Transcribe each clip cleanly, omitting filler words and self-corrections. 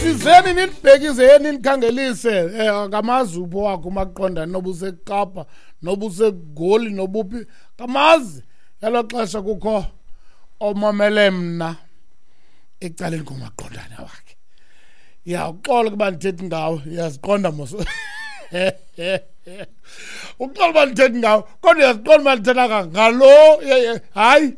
Sizeni nindibhekise nindikhangelise akamazi upho wakho umaqondane, noba useKapa, noba useGoli, nobuphi, kamazi. Elo xesha kukho omamele mna ecaleni komaqondane wakhe. Ya, uxolo kuba ndithethi ngawe, uyaziqonda mos. Uxolo uba ndithethi ngawe, kodwa uyaziqonda uba ndithetha ngalo. Hayi,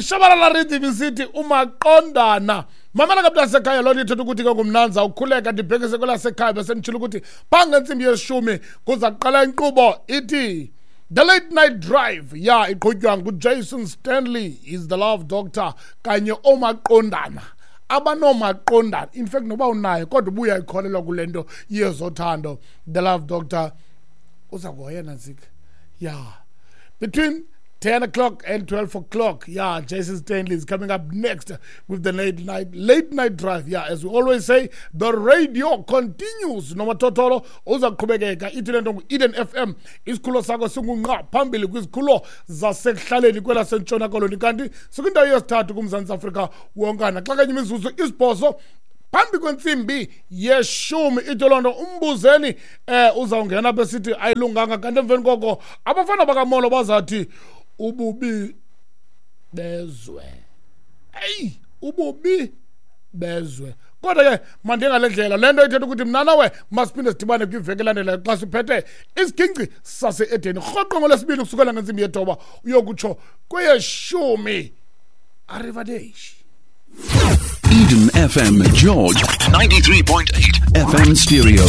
Shabalala Rhythm isithi umaqondana. Mamela ke mntasekhaya, loo nto ithetha ukuthi ke ngumnanza ukhuleka ndibhekise kwelasekhaya. Besenditshilo ukuthi phaa ngentsimbi yeshumi kuza kuqala inkqubo ithi The Late Night Drive. Ya, iqhutywa nguJason Stanley, is the love doctor, kanye omaqondana abanomaqondana. In fact, noba unayo kodwa ubuya ikholelwa kule nto yezothando, the love doctor uza kuhoya nantsika. Ya, between 10 o'clock and 12 o'clock. Yeah, Jason Stanley is coming up next with the late night drive. Yeah, as we always say, the radio continues. Nomathotholo uza kuqhubekeka. Ithi le nto ngu-Eden FM. Isikhululo sakho singunqa phambili kwizikhululo zasekuhlaleni kwelaseNtshona Koloni, kanti sikwindawo yesithathu kuMzantsi Afrika wonkana. Xa kanye imizuzu 8 phambi kwentsimbi yeshumi, ithi loo nto umbuzeni uzawungena besithi ayilunganga. Kanti emveni koko abafana bakamolo bazathi ububi bezwe. Eyi, ububi bezwe. Kodwa ke mandiye ngale ndlela, le nto ithetha ukuthi mna nawe masiphinde sidibane kwiveki elandelayo xa siphethe isiginci sase-Edeni, rhoqo ngoLwesibini kusukela ngentsimbi yethoba uyokutsho kweyeshumi. Arrivederci. Eden FM, George, 93.8 FM stereo.